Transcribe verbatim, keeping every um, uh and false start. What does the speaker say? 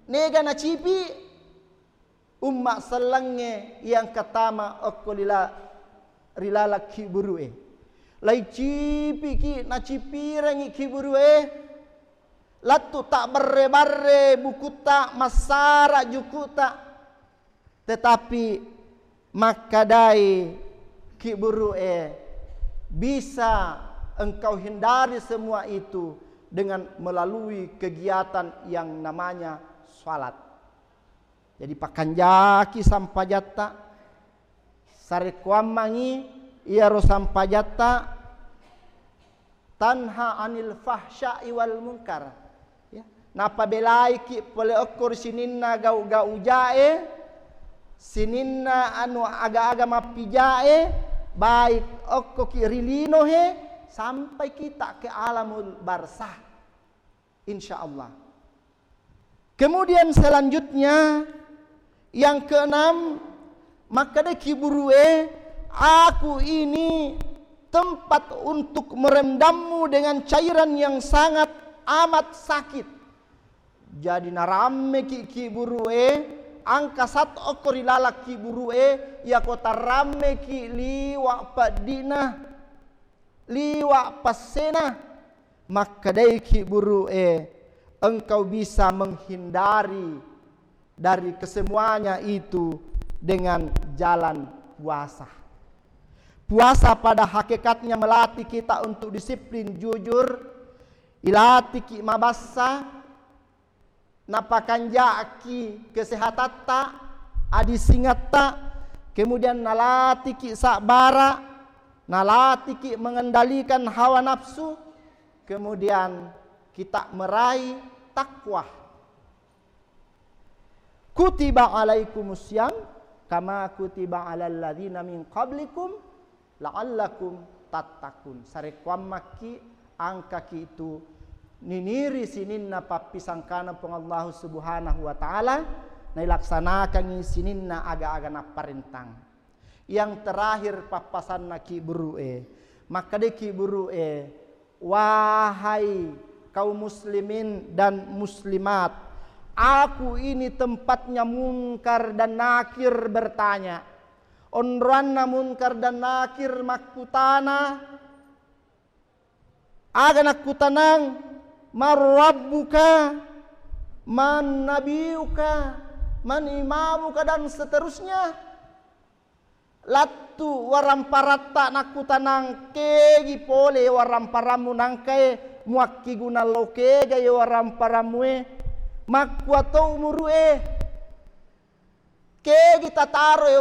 Nega nacipi umma sellengnge iya engka tama okko lila-, ri laleng kiburu'e. Laicipiki, nacipirengngi kiburu'e, lettu tabbarre-barre bukutta, massara jukuta. Tetapi makkadai kiburu'e, bisa engkau hindari semua itu dengan melalui kegiatan yang namanya salat. Jadi, pakanjaki sampajatta, sarekkoammangngi iyaro sampajatta, tanha anil fahsya'i wal munkar. Ya. Napabelaiki pole okko ri sininna gau-gau jae, sininna anu aga-aga mappijae, baik okkoki ri lino he, sampai kita ke alamul barzah. Insya Allah. Kemudian selanjutnya, yang keenam, makkeda kiburu'e, aku ini tempat untuk merendammu dengan cairan yang sangat amat sakit. Jadi narammeki kiburu'e, angka sat okko ri laleng kiburu'e, iyako tarammeki liwa' peddi'na, liwa' passena, makkedai kiburu'e, engkau bisa menghindari dari kesemuanya itu dengan jalan puasa. Puasa pada hakikatnya melatih kita untuk disiplin, jujur, ilatiki mabassa, napakanjaki kesehatatta, adisingetta, kemudian nalatiki sabbara, nalatiki mengendalikan hawa nafsu, kemudian kita meraih takwa. Kutiba alaikumus siyam kama kutiba alal ladzina min qablikum la'allakum tattaqun. Sarekkoammakki, angkaki tu niniri sininna pappisangkana Puang Allahu Subhanahu wa Ta'ala, nailaksanakangngi sininna aga-aga napparentang. Yang terakhir, pappasanna kiburu'e. Makkedai kiburu'e, wahai kaum muslimin dan muslimat, aku ini tempatnya Munkar dan Nakir bertanya. Onroanna Munkar dan Nakir makkutana, aga nakkutanang, "Man rabbuka, man nabiyuka, man imamuka," dan seterusnya. Lattu waramparatta nakkutanang, kegi pole waramparammu nangkae muakkiguna lao kega ye waramparammu e? Makkua to umuru'e? Kegi tataro e